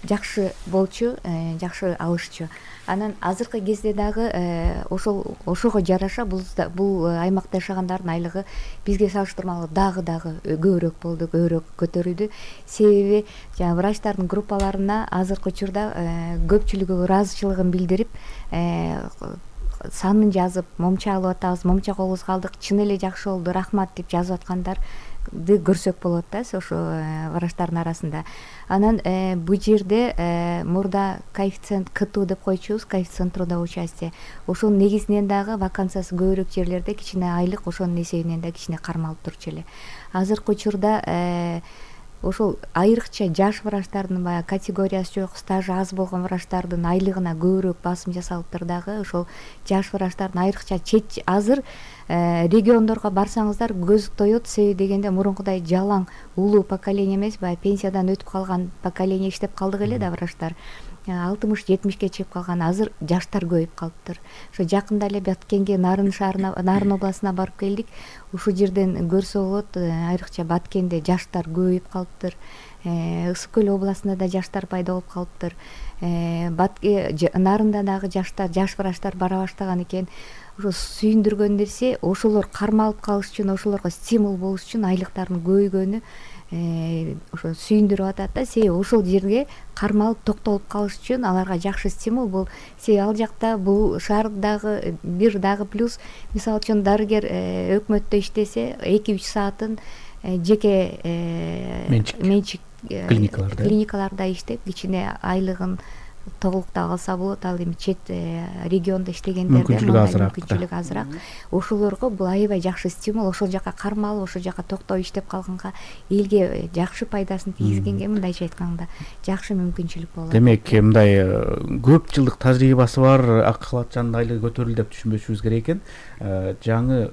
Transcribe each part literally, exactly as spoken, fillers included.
жакшы болчу, жакшы алышчу. Анан азыркы кезде дагы ошол ошого жараша бул бул аймакта жашагандардын айлыгы бизге салыштырмалуу дагы дагы көбүрөөк болду, көбүрөөк көтөрүлдү. Себеби жанагы врачтардын группаларына азыркы учурда көпчүлүгү ыраазычылыгын билдирип, санын жазып, момча алып атабыз, момча колубузга алдык, чын эле жакшы болду, рахмат деп жазып аткандарды көрсөк болот да ошо врачтардын арасында. Анан бул жерде мурда коэффициент КТУ деп койчубуз, коэффициент трудового участия. Ошонун негизинен дагы вакансиясы көбүрөөк жерлерде кичине айлык ошонун эсебинен да кичине кармалып турчу эле. Азыркы учурда ошол айрыкча жаш врачтардын баягы категориясы жок, стажы аз болгон врачтардын айлыгына көбүрөөк басым жасалыптыр дагы. Ошол жаш врачтардын айрыкча чет азыр региондорго барсаңыздар көз тоет. Себеби дегенде мурункудай жалаң улуу поколение эмес, баягы пенсиядан өтүп калган поколение иштеп калдык эле да врачтар. алтымыш жетимишке чейип калган, азыр жаштар көбөйүп калыптыр. Ошо жакында эле Баткенге, Нарын шаарына, Нарын областына барып келдик. Ушул жерден көрсө болот, айрыкча Баткенде жаштар көбөйүп калыптыр. Ысык көл областында да жаштар пайда болуп калыптыр. Нарында дагы жаштар, жаш врачтар бара баштаган экен. Ошо сүйүндүргөн нерсе, ошолор кармалып калыш үчүн, ошолорго стимул болуш үчүн айлыктардын көбөйгөнү ошо сүйүндүрүп атат да. Себеби ошол жерге кармалып токтолуп калыш үчүн аларга жакшы стимул бул. Себеби ал жакта бул шаардагы бир дагы плюс, мисалы үчүн дарыгер өкмөттө иштесе эки үч саатын жеке менчик клиникаларда иштеп кичине айлыгын толуктап алса болот. Ал эми чет региондо иштегендерде мүмкүнчүлүк азыраак. Ошолорго бул аябай жакшы стимул. Ошол жака кармалып, ошол жака токтоп иштеп калганга, элге жакшы пайдасын тийгизгенге мындайча айтканда жакшы мүмкүнчүлүк болот. Демек, мындай көп жылдык тажрыйбасы бар ак калатчанын айлыгы көтөрүлдү деп түшүнбөшүбүз керек экен. Жаңы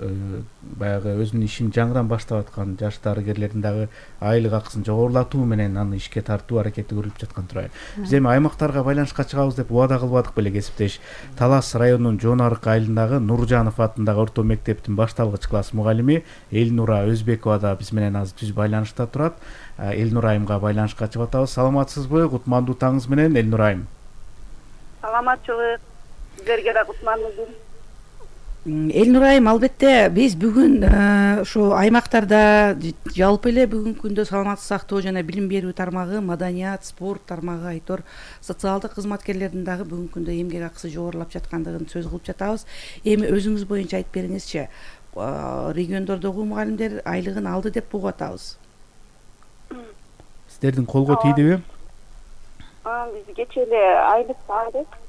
баягы өзүнүн ишин жаңыдан баштап аткан жаш дарыгерлердин дагы айлык акысын жогорулатуу менен аны ишке тартуу аракети көрүлүп жаткан турат. Биз эми аймактарга байланышка чыгабыз деп убада кылбадык беле кесиптеш. Талас районунун Жоон Арык айылындагы Нуржанов атындагы орто мектептин башталгыч класс мугалими Элнура Өзбекова да биз менен азыр түз байланышта турат. Элнура айымга байланышка чыгып атабыз. Саламатсызбы? Кутмандуу таңыңыз менен, Элнура айым. Саламатчылык. Сиздерге да кутмандуу күн. Элнура айым, албетте биз бүгүн ошо аймактарда жалпы эле бүгүнкү күндө саламаттык сактоо жана билим берүү тармагы, маданият, спорт тармагы, айтор социалдык кызматкерлердин дагы бүгүнкү күндө эмгек акысы жогорулап жаткандыгын сөз кылып жатабыз. Эми өзүңүз боюнча айтып бериңизчи, региондордогу мугалимдер айлыгын алды деп угуп атабыз. Сиздердин колго тийдиби? Биз кечээ эле айлык алдык.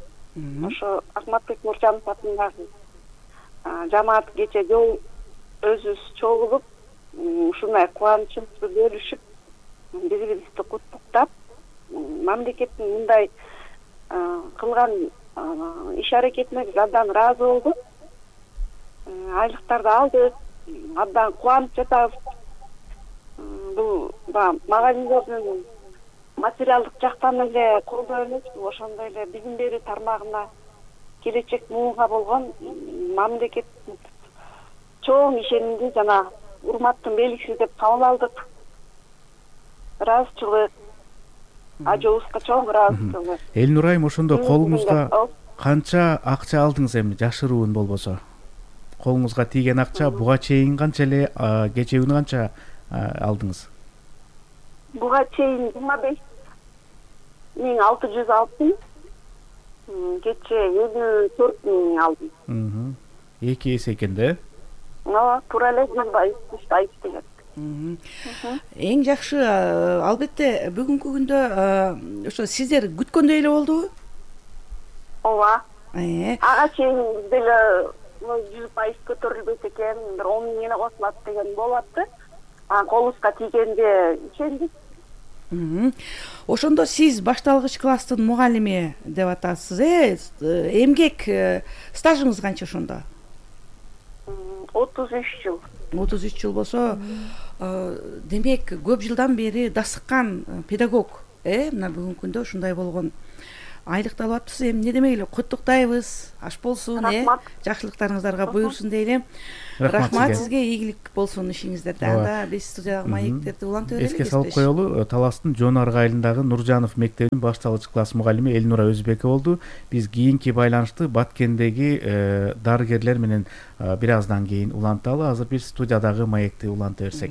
Ошо Акматбек Нуржанов атындагы жамаат кечээ жол өзүбүз чогулуп, ушундай кубанычыбызды бөлүшүп, бири бирибизди куттуктап, мамлекеттин мындай кылган иш аракетине биз абдан ыраазы болдук. Айлыктарды алдык, абдан кубанып жатабыз. Бул мугалимдердин материалдык жактан эле колдоо эмес, ошондой эле билим берүү тармагына келечек муунга болгон мамлекеттин чоң ишенимди жана урматтын белгиси деп кабыл алдык. Ыраазычылык, ажообузга чоң ыраазычылык. Элнура айым, ошондо колуңузга канча акча алдыңыз эми, жашыруун болбосо? Колуңузга тийген акча буга чейин канча эле, кечээ күнү канча алдыңыз? Буга чейин жыйырма беш миң алты жүз алтын, кечээ элүү төрт миң алдым. Эки эсе экен да? Ооба, туура эле жүз пайыз деген. Эң жакшы, албетте бүгүнкү күндө ошо сиздер күткөндөй эле болдубу? Ооба. Ага чейин деле жүз пайыз көтөрүлбөйт экен, бир он миң эле косулат деген болуп атты. Колубузга тийгенде ишендик. Ошондо сиз башталгыч класстын мугалими деп атасыз, э? Эмгек стажыңыз канча ошондо? отуз үч жыл. отуз үч жыл болсо, демек көп жылдан бери дасыккан педагог, э? Мына бүгүнкү күндө ушундай болгон. айлыкты алып атпыз. Эми эмне демек эле куттуктайбыз. Аш болсун, э. Жакшылыктарыңыздарга буйрсун дейли. Рахмат сизге, ийгилик болсун ишиңиздерде. Анда биз студиядагы маектерди улантып берели. Эске салып коелу, Таластын Жонарга айылындагы Нуржанов мектебинин башталгыч класс мугалими Элнура Өзбекова болду. Биз кийинки байланышты Баткендеги дарыгерлер менен бир аздан кийин уланталы. Азыр биз студиядагы маекти уланта берсек.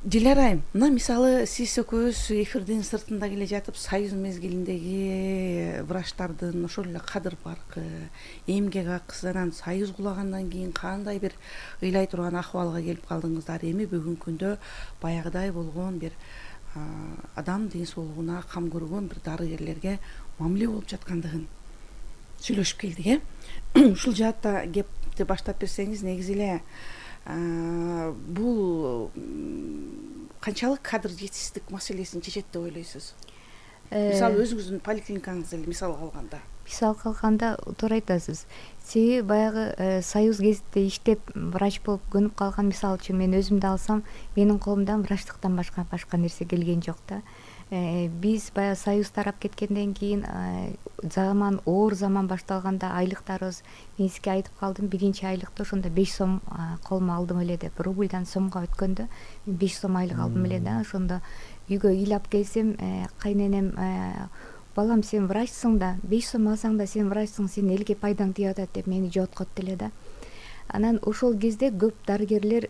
Дилара айым, мына мисалы сиз экөөбүз эфирдин сыртында келе жатып, Союз мезгилиндеги врачтардын ошол эле кадыр паркы, эмгек акысы, анан Союз кулагандан кийин кандай бир ыйлай турган акыбалга келип калдыңыздар. Эми бүгүнкү күндө баягыдай болгон бир адам ден соолугуна кам көргөн бир дарыгерлерге мамиле болуп жаткандыгын сүйлөшүп келдик, э. Ушул жаатта кепти баштап берсеңиз, негизи эле бул канчалык кадр жетишсиздик маселесин чечет деп ойлойсуз? Мисалы өзүңүздүн поликлиникаңызды эле мисалга алганда. Мисалга алганда туура айтасыз. Себеби баягы Союз кезинде иштеп врач болуп көнүп калган, мисалы үчүн мен өзүмдү алсам, менин колумдан врачтыктан башка башка нерсе келген жок да. Биз баягы Союз тарап кеткенден кийин заман оор заман башталганда айлыктарыбыз, мен сизге айтып калдым, биринчи айлыкты ошондо беш сом колума алдым эле деп, рубльдан сомго өткөндө беш сом айлык алдым эле да. Ошондо үйгө ыйлап келсем, кайненем: балам, сен врачсың да, беш сом алсаң да сен врачсың, сен элге пайдаң тиеп атат деп мени жооткотту эле да. Анан ошол кезде көп дарыгерлер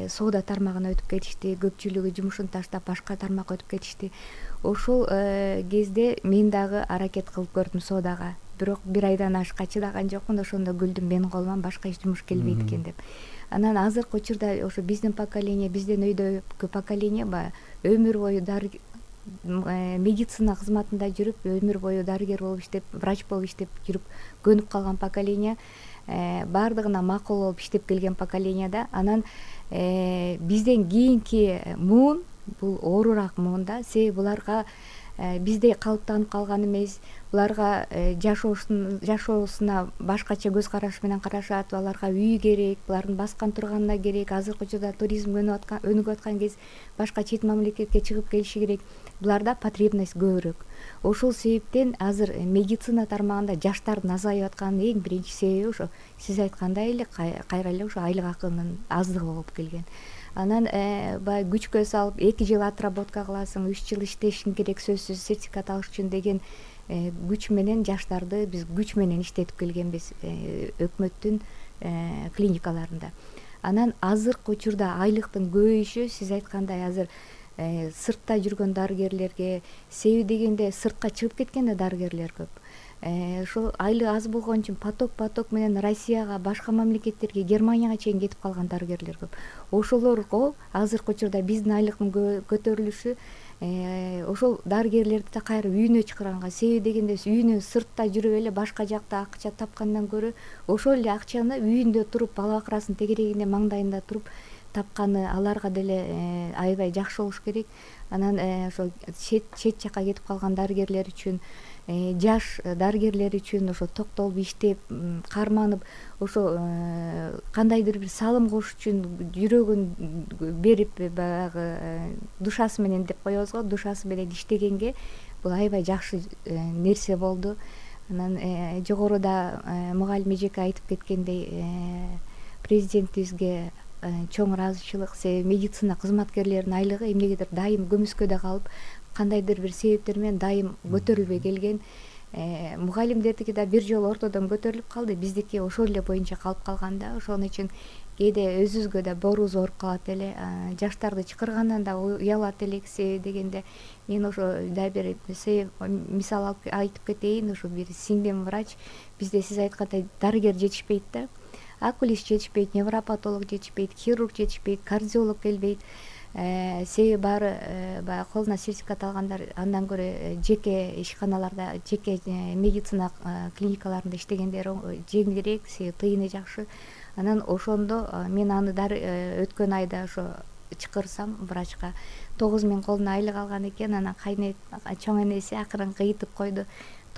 соода тармагына өтүп кетишти, көпчүлүгү жумушун таштап башка тармакка өтүп кетишти. Ошол кезде мен дагы аракет кылып көрдүм соодага, бирок бир айдан ашка чыдаган жокмун. Ошондо күлдүм, менин колуман башка эч жумуш келбейт экен деп. Анан азыркы учурда ошо биздин поколение, биздин өйдөгү поколение баягы өмүр бою медицина кызматында жүрүп, өмүр бою дарыгер болуп иштеп, врач болуп иштеп жүрүп көнүп калган поколение, баардыгына макул болуп иштеп келген поколение да. Анан бизден кийинки муун бул оорураак муун да. Себеби буларга биздей калыптанып калган эмес, буларга жашоосуна башкача көз караш менен карашат. Аларга үй керек, булардын баскан турганына керек. Азыркы учурда туризм өнүгүп аткан кез, башка чет мамлекетке чыгып келиши керек. Буларда потребность көбүрөөк. Ошол себептен азыр медицина тармагында жаштардын азайып атканынын эң биринчи себеби ошо сиз айткандай эле кайра эле ошо айлык акынын аздыгы болуп келген. Анан баягы күчкө салып эки жыл отработка кыласың, үч жыл иштешиң керек сөзсүз сертификат алыш үчүн деген күч менен жаштарды биз күч менен иштетип келгенбиз өкмөттүн клиникаларында. Анан азыркы учурда айлыктын көбөйүшү сиз айткандай азыр сыртта жүргөн дарыгерлерге, себеби дегенде сыртка чыгып кеткен да дарыгерлер көп. Ошол айлык аз болгон үчүн поток поток менен Россияга, башка мамлекеттерге, Германияга чейин кетип калган дарыгерлер көп. Ошолорго азыркы учурда биздин айлыктын көтөрүлүшү ошол дарыгерлерди да кайра үйүнө чакырганга. Себеби дегенде үйүнө сыртта жүрүп эле башка жакта акча тапкандан көрө ошол эле акчаны үйүндө туруп, бала бакырасын тегерегинде маңдайында туруп тапканы аларга деле аябай жакшы болуш керек. Анан ошо чет жакка кетип калган дарыгерлер үчүн, жаш дарыгерлер үчүн ошо токтолуп иштеп, карманып, ошо кандайдыр бир салым кош үчүн жүрөгүн берип, баягы душасы менен деп коебуз го, душасы менен иштегенге бул аябай жакшы нерсе болду. Анан жогоруда мугалим эжеке айтып кеткендей, президентибизге чоң ыраазычылык. Себеби медицина кызматкерлеринин айлыгы эмнегедир дайым көмүскөдө калып, кандайдыр бир себептер менен дайым көтөрүлбөй келген. Мугалимдердики да бир жолу ортодон көтөрүлүп калды, биздики ошол эле боюнча калып калган да. Ошон үчүн кээде өзүбүзгө да боорубуз ооруп калат эле, жаштарды чакыргандан да уялат элек. Себеби дегенде мен ошо да бир мисал айтып кетейин. Ошо бир сиңдим врач, бизде сиз айткандай дарыгер жетишпейт да. Окулист жетишпейт, невропатолог жетишпейт, хирург жетишпейт, кардиолог келбейт. Себеби баары баягы колуна сертификат алгандар андан көрө жеке ишканаларда, жеке медицина клиникаларында иштегендер жеңилирээк, себеби тыйыны жакшы. Анан ошондо мен аны өткөн айда ошо чакырсам врачка тогуз миң колуна айлык алган экен. Анан кайнет чоң энеси акырын кыйытып койду.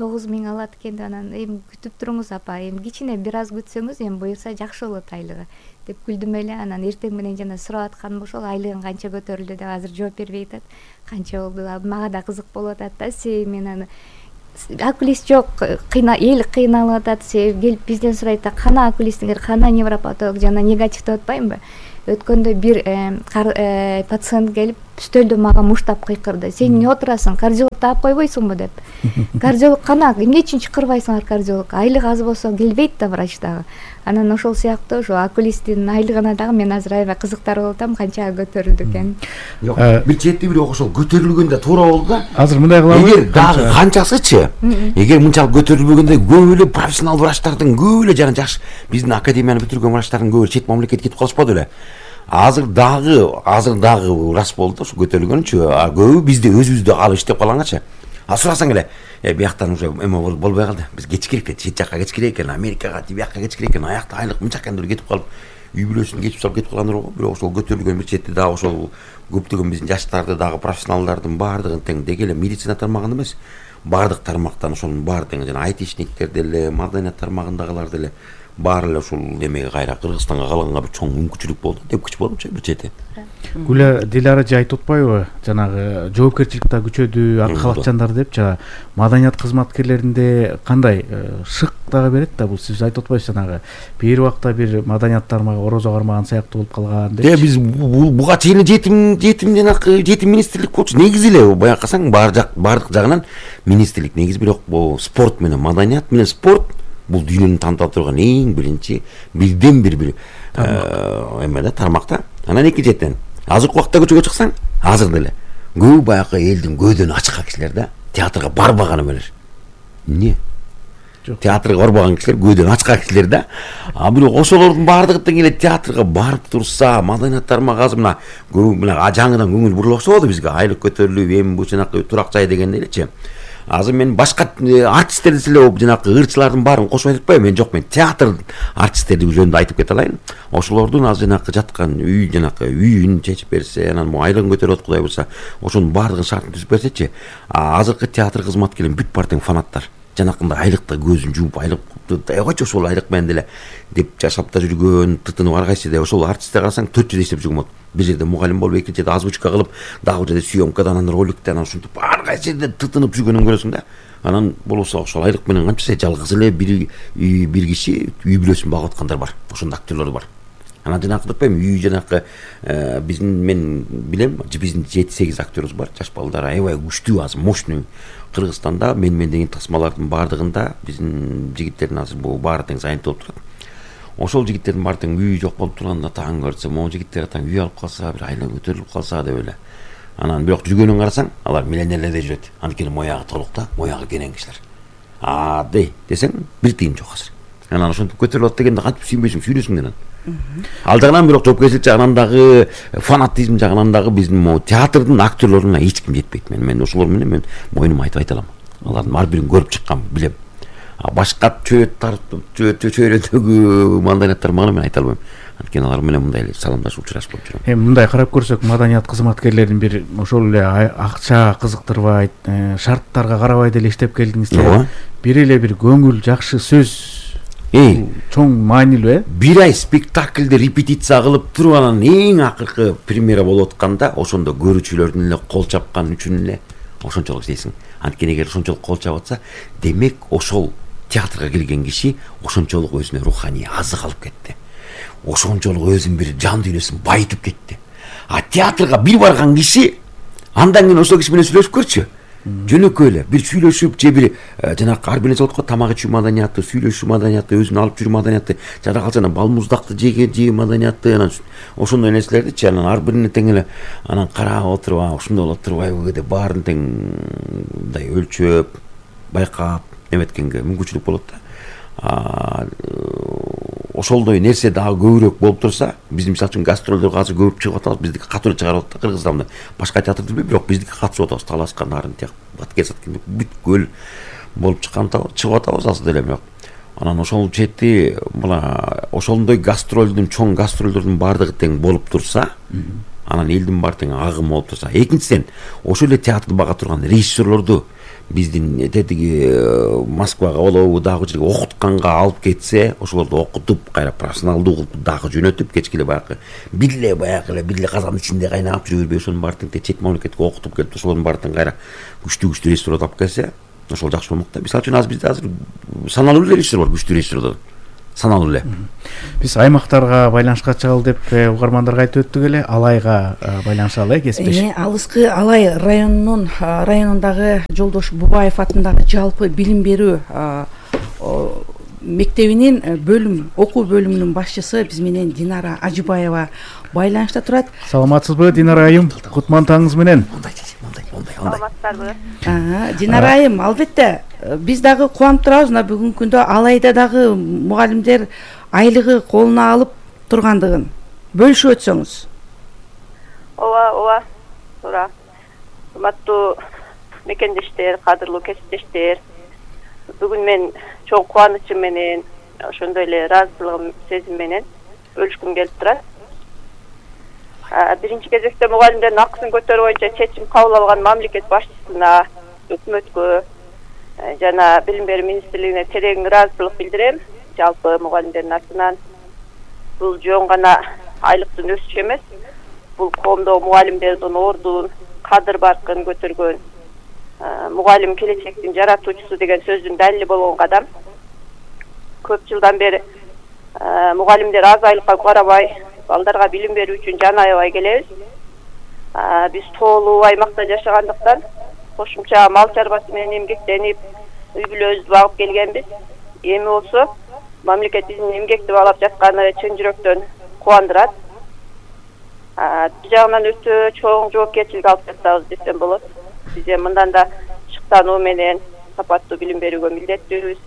тогуз миң алат экен деп анан эми күтүп туруңуз апа, эми кичине бир аз күтсөңүз эми буюрса жакшы болот айлыгы деп күлдүм эле. Анан эртең менен жана сурап атканым ошол, айлыгың канча көтөрүлдү деп. Азыр жооп бербей атат, канча болду. Мага да кызык болуп атат да, себеби мен аны окулист жок, кыйна эл кыйналып атат, себеби келип бизден сурайт да, кана окулистиңер, кана невропатолог жана негатив деп атпаймынбы. Өткөндө бир пациент келип стөлдө мага муштап кыйкырды: сен эмне отурасың, кардиолог таап койбойсуңбу деп. Кардиолог кана, эмне үчүн чакырбайсыңар кардиолог? Айлык аз болсо келбейт да врач дагы. Анан ошол сыяктуу ошо окулисттин айлыгына дагы мен азыр аябай кызыктар болуп атам, канча көтөрүлдү экен. Жок, бир чети бир ошол көтөрүлгөндө туура болду да. Азыр мындай кылабыз. Эгер дагы канчасычы, эгер мынчалык көтөрүлбөгөндө көп эле профессионал врачтардын көп эле жана жакшы биздин академияны бүтүргөн врачтардын көп чет мамлекетке кетип калышпады беле. Азыр дагы, азыр дагы рас болду ошо көтөрүлгөнчү. А көбү бизде өзүбүздө калып иштеп калганчы. А сурасаң эле, э бияктан уже эме болбой калды. Биз кечикирик экен, чет жакка кечикирик экен, Америкага, тибиякка кечикирик экен, аякта айлык мынча экен деп кетип калып, үй бүлөсүн кечип салып кетип калгандар го. Бирок ошол көтөрүлгөн бир чети дагы ошол көптөгөн биздин жаштарды дагы профессионалдардын баардыгын тең деги эле медицина тармагында эмес, баардык тармактан ошонун баардыгын жана айтишниктер деле, маданият тармагындагылар деле баары эле ушул эмеге кайра Кыргызстанга калганга бир чоң мүмкүнчүлүк болду деп күч болупчу бир чети. Гүлө Дилара же айтып атпайбы, жанагы жоопкерчилик да күчөдү, ак халатчандар деп, жана маданият кызматкерлеринде кандай шык дагы берет да, бул сиз айтып атпайсыз жанагы бир убакта бир маданият тармагы орозо кармаган сыяктуу болуп калган деп. Биз буга чейин жетим жетим жанагы жетим министрлик болчу. Негизи эле баягы касаң бар жак бардык жагынан министрлик негизи, бирок бул спорт менен маданият менен спорт бул дүйнөнү тантап турган эң биринчи бирден бир бир эме да тармакта. Анан экинчиден азыркы убакта көчөгө чыксаң, азыр деле көп баягы элдин көдөн ачкан кишилер да театрга барбаган эмелер. Эмне? Театрга барбаган кишилер, көдөн ачкан кишилер да. А бирок ошолордун баардыгы тең эле театрга барып турса, маданият тармагы азыр мына көп мына жаңыдан көңүл бурула баштады бизге. Айлык көтөрүлүп, эми бул жанакы турак жай дегенде элечи. Азыр мен башка артисттерди силе жанакы ырчылардын баарын кошуп айтып атпайбы, мен жок, мен театр артисттерди жөнүндө айтып кете алайын. Ошолордун азыр жанакы жаткан үй жанакы үйүн чечип берсе, анан могу айлыгын көтөрүп Кудай буйрса, ошонун баардыгын шартын түзүп берсечи, азыркы театр кызматкерлери бүт бар тең фанаттар. Жанакындай айлыкта көзүн жууп, айлык койчу ошол айлык менен деле деп жашап да жүргөн, тытынып ар кайсы да ошол артисттер карасаң төрт жыл иштеп жүргөн болот. Бир жерде мугалим болуп, экинчи жерде озвучка кылып, дагы бир жерде съемкада, анан роликте, анан ушинтип ар кайсы жерде тытынып жүргөнүн көрөсүң да. Анан болбосо ошол айлык менен канча жалгыз эле бир бир киши үй бүлөсүн багып аткандар бар. Ошондой актерлор бар. Анан жанакы деп атпаймынбы, үй жанакы биздин мен билем, биздин жети сегиз актёрубуз бар, жаш балдар аябай күчтүү, азыр мощный. Кыргызстанда мен мен деген тасмалардын баардыгында биздин жигиттердин азыр бул баары тең занят болуп турат. Ошол жигиттердин баары тең үй жок болуп турганда таң көрсө, могу жигиттер таң үй алып калса, бир айлык көтөрүлүп калса деп эле. Анан бирок жүргөнүн карасаң, алар миллионерлерде жүрөт. Анткени моягы толук да, моягы кенен кишилер. А дей десең, бир тыйын жок азыр. Анан ошентип көтөрүлүп атат дегенде кантип сүйбөйсүң, сүйлөсүң анан. Ал жагынан бирок жоопкерчилик жагынан дагы, фанатизм жагынан дагы биздин могу театрдын актерлоруна эч ким жетпейт. Мен мен ошолор менен мен моюнума айтып айта алам. Алардын ар бирин көрүп чыккан, билем. А башка чөйөт тартып, чөйрөдөгү маданият тармагына мен айта албайм. Анткени алар менен мындай эле саламдашып учурашып болуп жүрөм. Эми мындай карап көрсөк, маданият кызматкерлерин бир ошол эле акча кызыктырбайт, шарттарга карабай деле иштеп келдиңиз. Бир эле бир көңүл жакшы сөз Эй, чоң маанилүү, э? Бир ай спектакльде репетиция кылып туруп, анан эң акыркы премьера болуп атканда, ошондо көрүүчүлөрдүн эле кол чапкан үчүн эле ошончолук иштейсиң. Анткени эгер ошончолук кол чап атса, демек ошол театрга келген киши ошончолук өзүнө руханий азык алып кетти. Ошончолук өзүн бир жан дүйнөсүн байытып кетти. А театрга бир барган киши андан кийин ошол киши менен сүйлөшүп көрчү. Жөнөкөй эле бир сүйлөшүп, же бир жанакы ар бир нерсе болот го, тамак ичүү маданияты, сүйлөшүү маданияты, өзүн алып жүрүү маданияты, жада калса анан балмуздакты жеге жөө маданияты, анан ошондой нерселердичи, анан ар бирине тең эле анан карап отуруп, ушундай болот турбайбы деп баарын тең мындай өлчөп, байкап эметкенге мүмкүнчүлүк болот да. Ошолдой нерсе дагы көбүрөөк болуп турса, биздин мисалы үчүн гастролдорго азыр көп чыгып атабыз, биздики катуу чыгарып атат да Кыргызстанда. Башка театр билбейм, бирок биздики катышып атабыз, талашкан нарын тияк, баткер саткан бүт көл болуп чыккан чыгып атабыз азыр деле бирок. Анан ошол чети мына ошондой гастролдун, чоң гастролдордун баардыгы тең болуп турса, анан элдин баары тең агым болуп турса, экинчиден ошол эле театрды бага турган режиссерлорду биздин тетиги Москвага болобу дагы жерге окутканга алып кетсе, ошолорду окутуп кайра профессионалдуу кылып дагы жөнөтүп, кечке эле баягы билле баягы эле билле казандын ичинде кайнап жүрө бербей, ошонун баардыгын чет мамлекетке окутуп келип, ошолордун баардыгын кайра күчтүү күчтүү режиссерлорду алып келсе, ошол жакшы болмок да. Мисалы үчүн азыр бизде азыр саналуу режиссер бар, күчтүү режиссерлор. Саналуу эле. Биз аймактарга байланышка чыгалы деп угармандарга айтып өттүк эле. Алайга байланышалы, э, кесиптеш. Э, алыскы Алай районунун районундагы Жолдош Бубаев атындагы жалпы билим берүү мектебинин бөлүм окуу бөлүмүнүн башчысы биз менен Динара Ажыбаева байланышта турат. Саламатсызбы, Динара айым? Кутман таңыңыз менен. Саламатсыздарбы? Динара айым, албетте биз дагы кубанып турабыз, мына бүгүнкү күндө Алайда дагы мугалимдер айлыгы колуна алып тургандыгын бөлүшүп өтсөңүз. Ооба, ооба. Туура. Урматтуу мекендештер, кадырлуу кесиптештер, бүгүн мен чоң кубанычым менен, ошондой эле ыраазычылыгым сезим менен бөлүшкүм келип турат. Биринчи кезекте мугалимдердин акысын көтөрүү боюнча чечим кабыл алган мамлекет башчысына, өкмөткө жана билим берүү министрлигине терең ыраазычылык билдирем. Жалпы мугалимдердин атынан бул жөн гана айлыктын өсүшү эмес, бул коомдо мугалимдердин ордун, кадыр баркын көтөргөн, мугалим келечектин жаратуучусу деген сөздүн далили болгон кадам. Көп жылдан бери мугалимдер аз айлыкка карабай, балдарга билим берүү үчүн жан аябай келебиз. Биз тоолуу аймакта жашагандыктан кошумча мал чарбасы менен эмгектенип, үй бүлөбүздү багып келгенбиз. Эми болсо мамлекет биздин эмгекти баалап жатканы чын жүрөктөн кубандырат. Бир жагынан өтө чоң жоопкерчилик алып жатабыз десем болот. Биз эми мындан да шыктануу менен сапаттуу билим берүүгө милдеттүүбүз.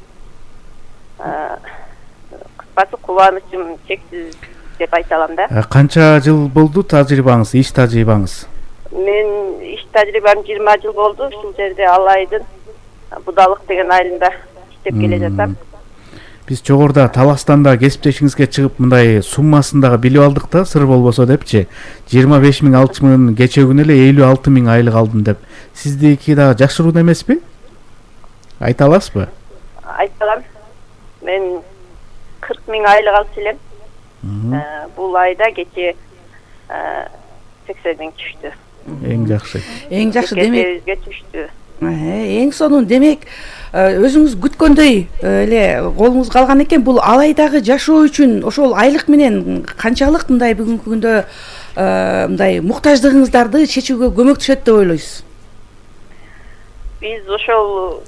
Кыскасы кубанычым чексиз деп айта алам да. Канча жыл болду тажрыйбаңыз, иш тажрыйбаңыз? Мен иш тажрыйбам жыйырма жыл болду. Ушул жерде Алайдын Будалык деген айылында иштеп келе жатам. Биз жогоруда Таластанда кесиптешиңизге чыгып мындай суммасын дагы билип алдык да, сыр болбосо депчи. жыйырма беш миң алчымын, кече күнү эле элүү алты миң айлык алдым деп. Сиздики дагы жашыруун эмеспи? Айта аласызбы? Айта алам. Мен кырк миң айлык алчу элем. Бул айда кече сексен миң түштү. Эң жакшы. Эң жакшы демек. Кесебизге түштү. Эң сонун демек өзүңүз күткөндөй эле колуңузга алган экен. Бул Алайдагы жашоо үчүн ошол айлык менен канчалык мындай бүгүнкү күндө мындай муктаждыгыңыздарды чечүүгө көмөктөшөт деп ойлойсуз? Биз ошол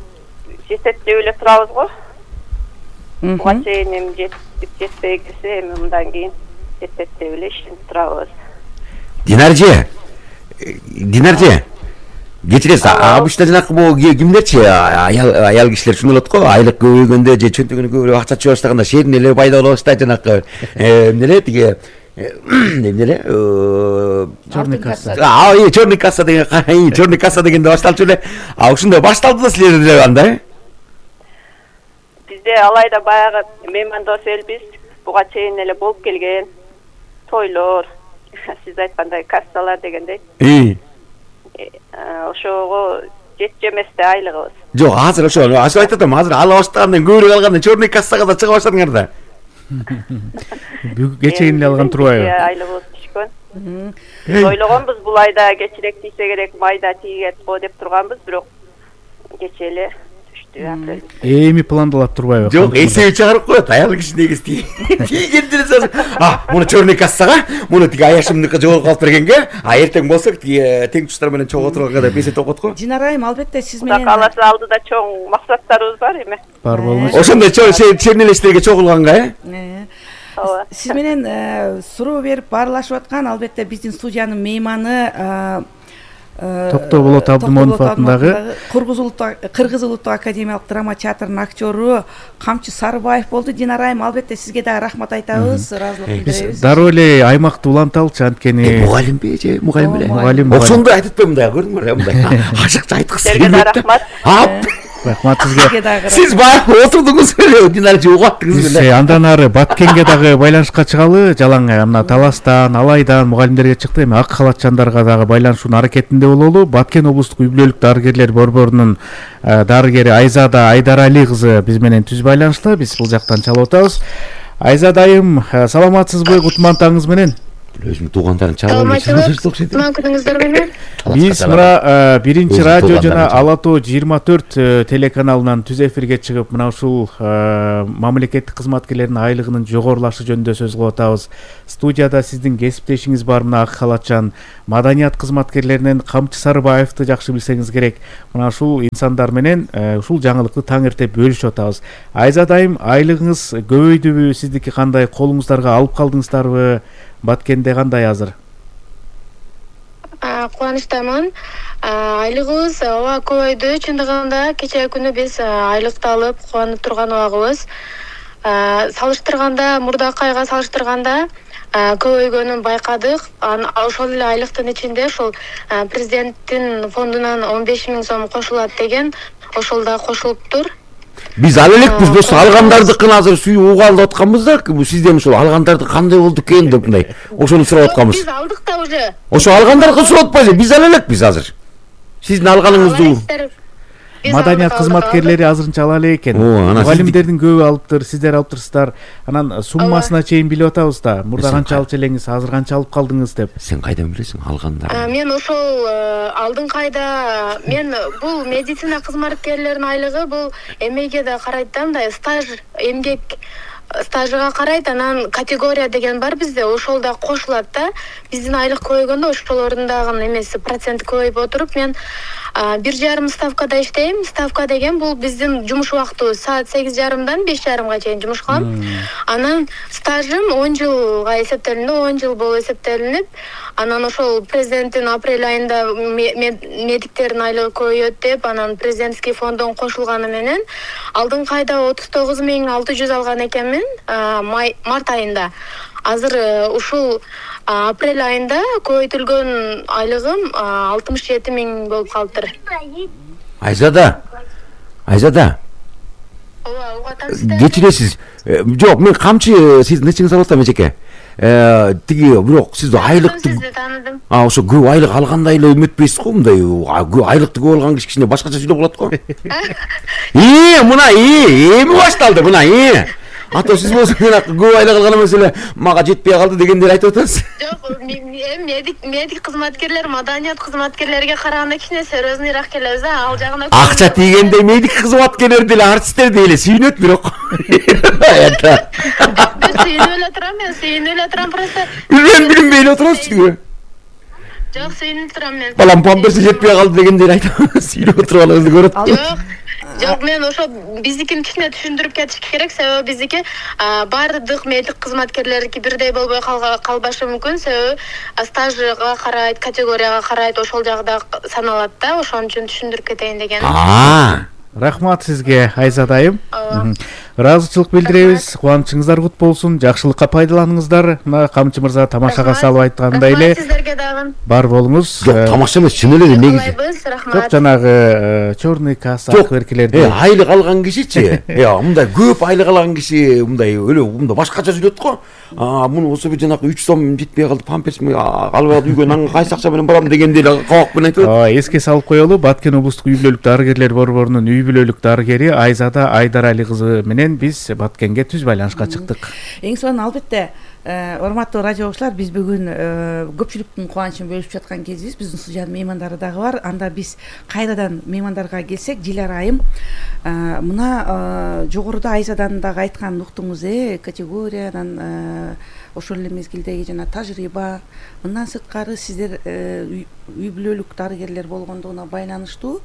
жетет деп эле турабыз го. Буга чейин эми жетип жетпей келсе, эми мындан кийин жетет деп эле ишенип турабыз. Динарже, Динарже, кечиресиз, обычно жанакы могу кимдерчи, аял аял кишилер ушундай болот го, айлык көбөйгөндө же чөнтөгүнө көбүрөөк акча чыга баштаганда шерин эле пайда болуп баштайт, жанакы эмне эле тиги эмне эле черный касса. А, ой, черный касса деген, черный касса дегенде башталчу эле. А ушундай башталды да силерде деле анда? Бизде Алайда баягы меймандос элбиз. Буга чейин эле болуп келген тойлор, сиз айткандай кассалар дегендей. И ошого жетчү эмес да айлыгыбыз. Жок, азыр ошо, азыр айтып атам, азыр ала баштагандан көбүрөөк алганда черный кассага да чыга баштадыңар да. Бүгүн кечейин эле алган турбайбы? Айлыгыбыз түшкөн. Ойлогонбуз бул айда кечирээк тийсе керек, майда тийет го деп турганбыз, бирок кече эле түштү. Эми пландалат турбайбы? Жок, эсеби чыгарып коет, аял киши негиз тийген дерсе, а, муну черный кассага, муну тиги аяшымдыкы жогорку алып бергенге, а эртең болсо тиги тең туштар менен чогуу отурганга деп эсептеп коет го. Динара айым, албетте сиз менен Каласа алдыда чоң максаттарыбыз бар эми. Бар болмош. Ошондой чернелештерге чогулганга, э? Ооба. Сиз менен суроо берип баарлашып аткан албетте биздин студиянын мейманы Токтоо Болот Абдымонов атындагы Кыргыз улуттук академиялык драма театрынын актёру Камчы Сарыбаев болду. Динара айым, албетте сизге дагы рахмат айтабыз, ыраазылык билдиребиз. Дароо эле аймакты уланталычы, анткени мугалимби же мугалим эле? Мугалим. Ошондой айтып атпаймын да, көрдүңөр, мындай ашыкча айткысы келет. Сизге да рахмат. Рахмат Сизге сизге. дагы Сиз баягы отурдуңуз беле, динара же угаттыңыз Биз беле. андан ары Баткенге дагы байланышка чыгалы. Жалаң мына Таластан, Алайдан мугалимдерге чыкты. Эми ак халатчандарга дагы байланышуунун аракетинде бололу. Баткен облустук үй бүлөлүк дарыгерлер борборунун дарыгери Айзада Айдарали кызы биз менен түз байланышта. Биз бул жактан чалып атабыз. Айзада айым, саламатсызбы? Кутман таңыңыз менен. Өзүмдүн туугандарым чалып Саламатчылык, кутман күнүңүздөр менен. Биз мына биринчи Өзү радио туугандарым жана чалып. Ала тоо жыйырма төрт телеканалынан түз эфирге чыгып, мына ушул мамлекеттик кызматкерлердин айлыгынын жогорулашы жөнүндө сөз кылып атабыз. Студияда сиздин кесиптешиңиз бар, мына ак халатчан маданият кызматкерлеринен Камчы Сарыбаевди жакшы билсеңиз керек. Мына ушул инсандар менен ушул жаңылыкты таң эрте бөлүшүп атабыз. Айзада айым, айлыгыңыз көбөйдүбү? Сиздики кандай? Колуңуздарга алып калдыңыздарбы? Баткенде кандай азыр? Кубанычтамын. Айлыгыбыз ооба көбөйдү. Чындыгында кечээ күнү биз айлыкты алып кубанып турган убагыбыз. Салыштырганда, мурдакы айга салыштырганда көбөйгөнүн байкадык. Ошол эле айлыктын ичинде ошол президенттин фондунан он беш миң сом кошулат деген, ошол да кошулуптур. Биз ал элекпиз, болсо алгандардыкын азыр сүйүп угалып атканбыз да, сизден ошол алгандарды кандай болду экен деп мындай ошону сурап атканбыз. Биз алдык да уже. Ошо алгандарды сурап атпайбы? Биз ал элекпиз азыр. Сиздин алганыгыңызды. Маданият кызматкерлери азырынча ала элек экен. Мугалимдердин көбү алыптыр, сиздер алыптырсыздар. Анан суммасына чейин билип атабыз да. Мурда канча алчу элеңиз, азыр канча алып калдыңыз деп. Сен кайдан билесиң алгандарды? Мен ошол алдыңкы айда мен бул медицина кызматкерлеринин айлыгы бул эмеге да карайт да, мындай стаж, эмгек стажыга карайт, анан категория деген бар бизде, ошол да кошулат да. Биздин айлык көбөйгөндө ошолордун дагы эмеси проценти көбөйүп отуруп, мен бир жарым ставкада иштейм. Ставка деген бул биздин жумуш убактыбыз. Саат сегиз жарымдан беш жарымга чейин жумуш кылам. Анан стажым он жылга эсептелинди, он жыл болуп эсептелинип, анан ошол президенттин апрель айында медиктердин айлыгы көбөйөт деп, анан президентский фонддон кошулганы менен алдыңкы айда отуз тогуз миң алты жүз алган экенмин, март айында. Азыр ушул апрель айында көбөйтүлгөн айлыгым алтымыш жети миң болуп калыптыр. Айзада, Айзада. Ооба, угатасыздар. Кечиресиз. Жок, мен камчы сиздин эчиңиз алып атам эжеке. Тиги бирок сиз айлыкты Сизди тааныдым. А, ошо көп айлык алгандай эле үмүтпейсиз го, мындай айлыкты көп алган киши кичине башкача сүйлөп калат го. И, мына и, эми башталды мына и. Ата сиз болсо көп айлык алган эмес эле мага жетпей калды дегендер айтып атасыз. Жок, медик медик кызматкерлер, маданият кызматкерлерге караганда кичине серьезныйраак келебиз, а ал жагына. Акча тийгенде медик кызматкерлер деле, артисттер деле сүйүнөт бирок. Сүйүнүп эле турам, мен сүйүнүп эле турам просто. Билбейм, билинбей эле турасызбы? Жок, сүйүнүп турам мен. Балам памперси жетпей калды дегендер айтып сүйүнүп турганыңызды көрөт. Жок. Жок, мен ошо биздикин кичине түшүндүрүп кетиш керек, себеби биздики баардык медик кызматкерлердики бирдей болбой калбашы мүмкүн, себеби стажга карайт, категорияга карайт, ошол жагда саналат да, ошон үчүн түшүндүрүп кетейин деген. Рахмат сизге, Айзада айым. Ыраазычылык билдиребиз. Кубанычыңыздар кут болсун. Жакшылыкка пайдаланыңыздар. Мына Камчы мырза тамашага салып айткандай эле. Сиздерге дагы. Бар болуңуз. Жок, тамаша эмес, чын эле негизи. Жок, жанагы черный касса акберкилерди. Э, айлык алган кишичи. Э, мындай көп айлык алган киши мындай өлө мындай башкача сүйлөт го. А, муну болсо бир жанагы үч сом жетпей калды, памперсми алып алып үйгө нан кайсы акча менен барам дегенде эле кабак менен айтып. Ооба, эске салып коелу. Баткен облустук үй бүлөлүк дарыгерлер борборунун үй бүлөлүк дарыгери Айзада Айдарали кызы менен биз Баткенге түз байланышка чыктык. Эң сонун албетте, урматтуу радио окуучулар, биз бүгүн көпчүлүктүн кубанычын бөлүшүп жаткан кезибиз. Биздин студиянын меймандары дагы бар. Анда биз кайрадан меймандарга келсек, Дилара айым, мына жогоруда Айзаданын дагы айтканын уктуңуз, э, категориядан ошол эле мезгилдеги жана тажрыйба, мындан сырткары сиздер үй бүлөлүк дарыгерлер болгондугуна байланыштуу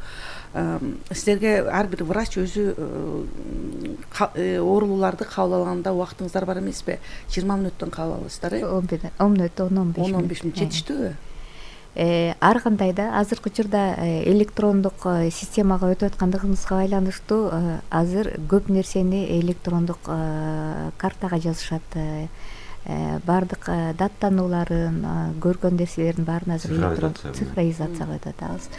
сиздерге ар бир врач өзү оорулууларды кабыл алганда убактыңыздар бар эмеспи? жыйырма мүнөттөн кабыл аласыздар, э? он мүнөттөн он беш он он беш мүнөт жетиштүүбү? Ар кандай да азыркы учурда электрондук системага өтүп аткандыгыбызга байланыштуу азыр көп нерсени электрондук картага жазышат. баардык даттанууларын көргөн нерселердин баарын азыр электрон цифровизацияга өтүп атабыз.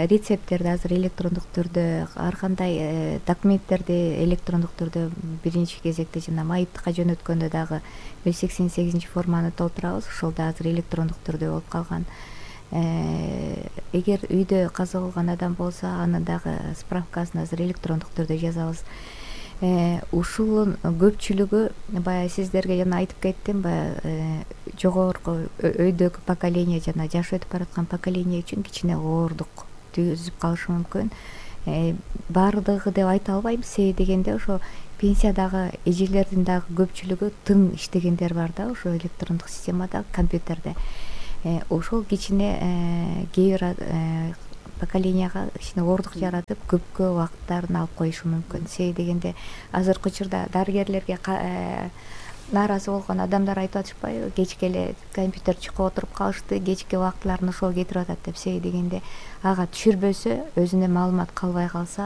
Рецепттерди азыр электрондук түрдө, ар кандай документтерди электрондук түрдө биринчи кезекте жана майыптыкка жөнөткөндө дагы жүз сексен сегизинчи форманы толтурабыз. Ошол да азыр электрондук түрдө болуп калган. Эгер үйдө каза болгон адам болсо, анын дагы справкасын азыр электрондук түрдө жазабыз. Ушунун көпчүлүгү баягы сиздерге жана айтып кеттим, баягы жогорку өйдөгү поколение жана жашы өтүп бараткан поколение үчүн кичине оордук түзүп калышы мүмкүн. Баардыгы деп айта албайм, себеби дегенде ошо пенсиядагы эжелердин дагы көпчүлүгү тың иштегендер бар да, ошо электрондук системада, компьютерде. Ошол кичине кээ бир поколенияга кичине оордук жаратып, көпкө убакыттарын алып коюшу мүмкүн. Себеби дегенде азыркы учурда дарыгерлерге нааразы болгон адамдар айтып атышпайбы, кечке эле компьютер чукуп отуруп калышты, кечки убактыларын ошол кетирип атат деп. Себеби дегенде ага түшүрбөсө, өзүнө маалымат калбай калса,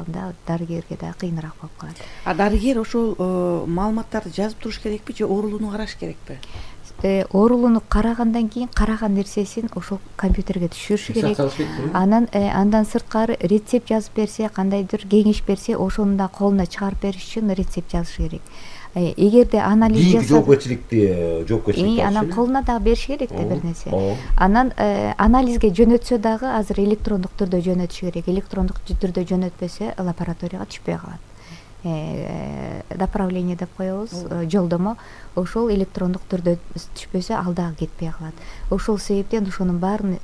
анда дарыгерге да кыйыныраак болуп калат. А дарыгер ошол маалыматтарды жазып туруш керекпи же оорулууну караш керекпи? Оорулууну карагандан кийин караган нерсесин ошол компьютерге түшүрүш керек. Анан андан сырткары рецепт жазып берсе, кандайдыр кеңеш берсе, ошону да колуна чыгарып бериш үчүн рецепт жазыш керек. Эгерде анализ жасап, жоопкерчиликти жоопкерчиликти анан колуна дагы бериш керек да бир нерсе. Анан анализге жөнөтсө дагы азыр электрондук түрдө жөнөтүш керек. Электрондук түрдө жөнөтпөсө лабораторияга түшпөй калат. Направление деп коебуз, жолдомо. Ошол электрондук түрдө түшпөсө, ал дагы кетпей калат. Ошол себептен ошонун баарын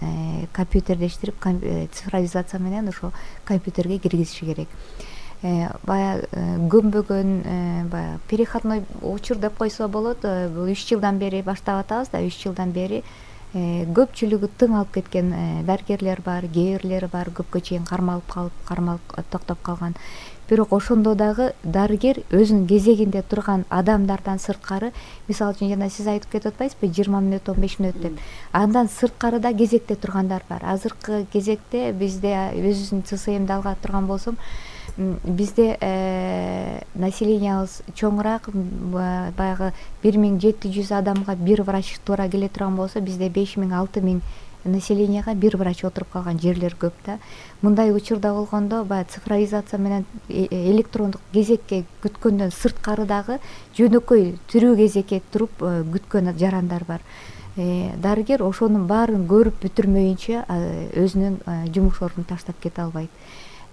компьютердештирип, цифровизация менен ошо компьютерге киргизиш керек. Баягы көмбөгөн, баягы переходной учур деп койсо болот. Бул үч жылдан бери баштап атабыз да, үч жылдан бери көпчүлүгү тың алып кеткен дарыгерлер бар, кээ бирлери бар, көпкө чейин кармалып калып, кармалып токтоп калган. Бирок ошондо дагы дарыгер өзүнүн кезегинде турган адамдардан сырткары, мисалы үчүн жана сиз айтып кетип атпайсызбы, жыйырма мүнөт, он беш мүнөт деп. Андан сырткары да кезекте тургандар бар. Азыркы кезекте бизде, өзүбүздүн ЦСМди алган турган болсом, бизде населениябыз чоңураак, баягы бир миң жети жүз адамга бир врач туура келе турган болсо, бизде беш миң алты миң населенияга бир врач отуруп калган жерлер көп да. Мындай учурда болгондо баягы цифровизация менен электрондук кезекке күткөндөн сырткары дагы жөнөкөй тирүү кезекке туруп күткөн жарандар бар. Дарыгер ошонун баарын көрүп бүтүрмөйүнчө өзүнүн жумуш ордун таштап кете албайт.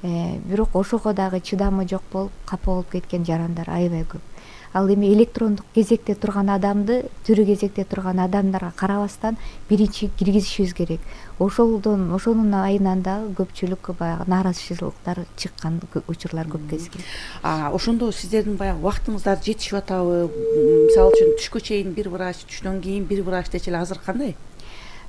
Бирок ошого дагы чыдамы жок болуп, капа болуп кеткен жарандар аябай көп. Ал эми электрондук кезекте турган адамды тирүү кезекте турган адамдарга карабастан биринчи киргизишибиз керек. Ошолдон, ошонун айынан дагы көпчүлүк баягы нааразычылыктар чыккан учурлар көп кезген. Ошондо сиздердин баягы убактыңыздар жетишип атабы? Мисалы үчүн түшкө чейин бир врач, түштөн кийин бир врач дечи эле азыр кандай?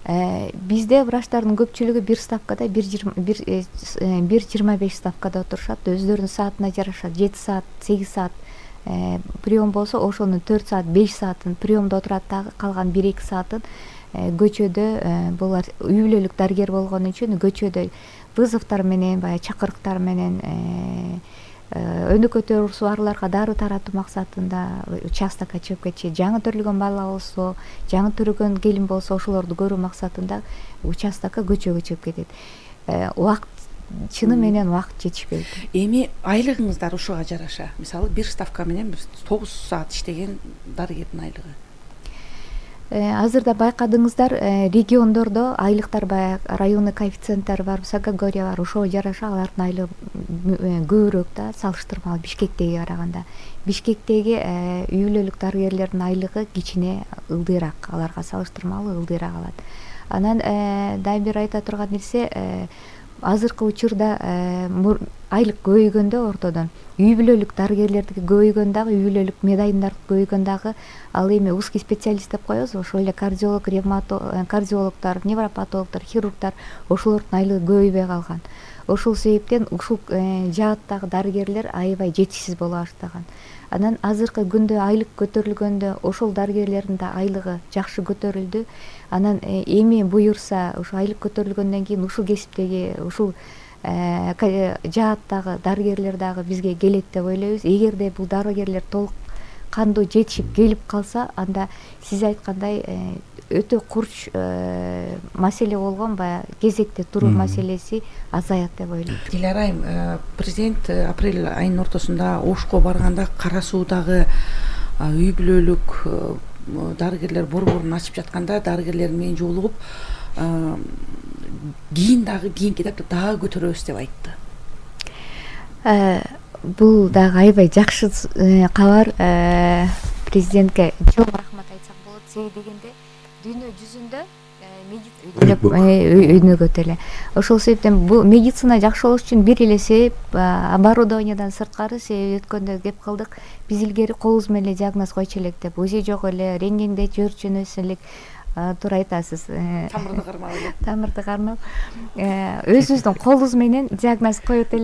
Бизде врачтардын көпчүлүгү бир ставкада, бир жыйырма беш ставкада отурушат. Өздөрүнүн саатына жараша жети саат, сегиз саат прием болсо, ошонун төрт саат, беш саатын приемдо отурат, дагы калган бир эки саатын көчөдө, булар үй бүлөлүк дарыгер болгон үчүн көчөдө вызовдор менен, баягы чакырыктар менен өнөкөй барларга дары таратуу максатында участокко чыгып кетчү. Жаңы төрөлгөн бала болсо, жаңы төрөгөн келин болсо, ошолорду көрүү максатында участокко көчөгө чыгып кетет. Убакыт чыны менен убакыт жетишпейт. Эми айлыгыңыздар ушуга жараша. Мисалы бир ставка менен тогуз саат иштеген дарыгердин айлыгы. Азырда байкадыңыздар, региондордо айлыктар, баягы районный коэффициенттер бар, категория бар. Ошого жараша алардын айлыгы көбүрөөк да, салыштырмалуу Бишкектеги караганда. Бишкектеги үй бүлөлүк дарыгерлердин айлыгы кичине ылдыйраак, аларга салыштырмалуу ылдыйраак алат. Анан дагы бир айта турган нерсе, азыркы учурда айлык көбөйгөндө ортодон үй бүлөлүк дарыгерлердики көбөйгөн дагы, үй бүлөлүк медайымдар көбөйгөн дагы, ал эми узкий специалист деп коебуз, ошол эле кардиолог, кардиологдор, невропатологдор, хирургдар, ошолордун айлыгы көбөйбөй калган. Ошол себептен ушул жааттагы дарыгерлер аябай жетишсиз боло баштаган. Анан азыркы күндө айлык көтөрүлгөндө ошол дарыгерлердин да айлыгы жакшы көтөрүлдү. Анан эми буюрса, ушул айлык көтөрүлгөндөн кийин ушул кесиптеги, ушул жааттагы дарыгерлер дагы бизге келет деп ойлойбуз. Эгерде бул дарыгерлер толук кандуу жетишип келип калса, анда сиз айткандай өтө курч маселе болгон баягы кезекте туруу маселеси азаят деп ойлойм. Диляра айым, президент апрель айынын ортосунда Ошко барганда Кара Суудагы үй бүлөлүк дарыгерлер борборун ачып жатканда дарыгерлер менен жолугуп, кийин дагы кийинки этапта дагы көтөрөбүз деп айтты. Бул дагы аябай жакшы кабар. Президентке чоң рахмат айтсак болот. Себеби дегенде дүйнө жүзүндө өнөгөт эле. Ошол себептен бул медицина жакшы болуш үчүн бир эле себеп оборудованиядан сырткары, себеби өткөндө кеп кылдык, биз илгери колубуз менен эле диагноз койчу элек деп, УЗИ жок эле, рентгенде көрчүбүз элек. Туура айтасыз. Тамырды кармап эле. Тамырды кармап, өзүбүздүн колубуз менен диагноз коет элек.